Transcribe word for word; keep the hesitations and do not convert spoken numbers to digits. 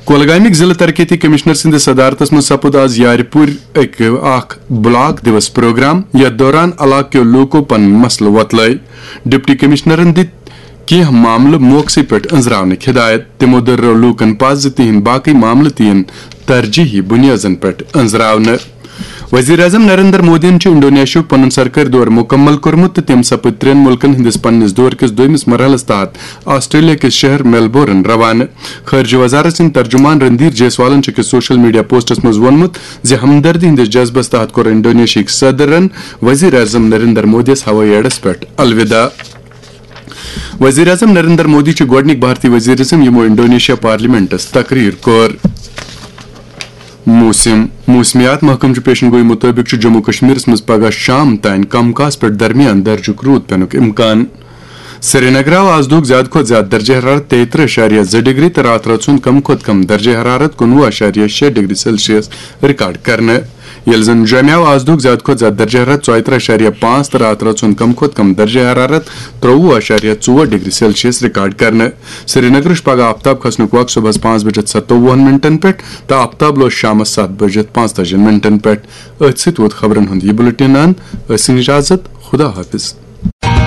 کۄلگامٕکۍ ضلع ترقیتی کمشنر سٕنٛدِس صدارتس منٛز سپُد آز یارِ پورِ اکھ بلاک دیوس پروگرام، یتھ دوران علاقہٕ کیو لوٗکو پنٕنۍ مسلہٕ وۄتلٲوۍ۔ ڈپٹی کمشنرن دِتۍ کینٛہہ معاملہٕ موقعسٕے پٮ۪ٹھ أنٛزراونٕکۍ ہدایت۔ تِمو دٔرٲو لوٗکن پَزِ زِ تِہنٛدۍ باقٕے معاملہٕ تہِ یِن ترجیحی بُنیٲدن پٮ۪ٹھ أنٛزراونہٕ۔ وزیر اعظم نریندر مودیَن چھُ انڈونیشیاہُک پنُن سرکٲرۍ دورٕ مُکمل کوٚرمُت تہٕ تٔمۍ سپٕدۍ ترٛٮ۪ن مُلکن ہٕنٛدِس پننِس دورٕ کِس دوٚیمِس مرحلس تحت آسٹریلیا کِس شہر میلبورن روانہٕ۔ خارجہ وزارت سٕنٛدۍ ترجمان رندیر جیسوالن چھُ أکِس سوشل میڈیا پوسٹس منٛز ووٚنمُت زِ ہمدردی ہٕنٛدِس جذبس تحت کوٚر انڈونیشیاہٕکۍ صدرن وزیر اعظم نریندر مودیَس ہوٲیی اڈس پٮ۪ٹھ الوداع۔ وزیر اعظم نریندر مودی چھُ گۄڈٕنیُک بھارتی وزیر اعظم یِمو انڈونیشیا پارلیمنٹس تقریر کوٚر۔ موسم۔ موسمیات محکمہٕ چہِ پیشن گوئی مُطٲبِق چھُ جموں کشمیرس منٛز پگہہ شام تام کم کاس پٮ۪ٹھ درمیان درجُک روٗد پینُک امکان۔ سرینگر آو آز دۄہُک زیادٕ کھۄتہٕ زیادٕ درجہ حرارت تیٚیہِ ترٕٛہ اَشاریہ زٕ ڈگری تہٕ راتھ رٲژ ہُنٛد کم کھۄتہٕ کم درجہ حرارت کُنوُہ اَشاریہ شےٚ ڈگری سیلسیس ریکارڈ کرنہٕ۔ ییٚلہِ زن جوٚمہِ آو آز دۄہُک زیادٕ کھۄتہٕ زیادٕ درجہ حرارت ژۄیہِ ترٕٛہ اَشاریہ پانٛژھ تہٕ راتھ رٲژ ہُنٛد کم کھۄتہٕ کم درجہ حرارت ترٛوٚوُہ اَشاریہ ژور ڈگری سیلسیس ریکارڈ کرنہٕ۔ سرینگرٕچ پگہہ آفتاب کھسنُک وقت صبحس پانٛژھ بجے ستووُہن منٹن پٮ۪ٹھ تہٕ آفتاب لوس شامس ستھ بجے پانٛژتٲجی منٹن پٮ۪ٹھ۔ أتھۍ سۭتۍ ووت خبرن ہُنٛد یہِ بُلٹن اند۔ ٲسِن اجازت، خدا حافظ۔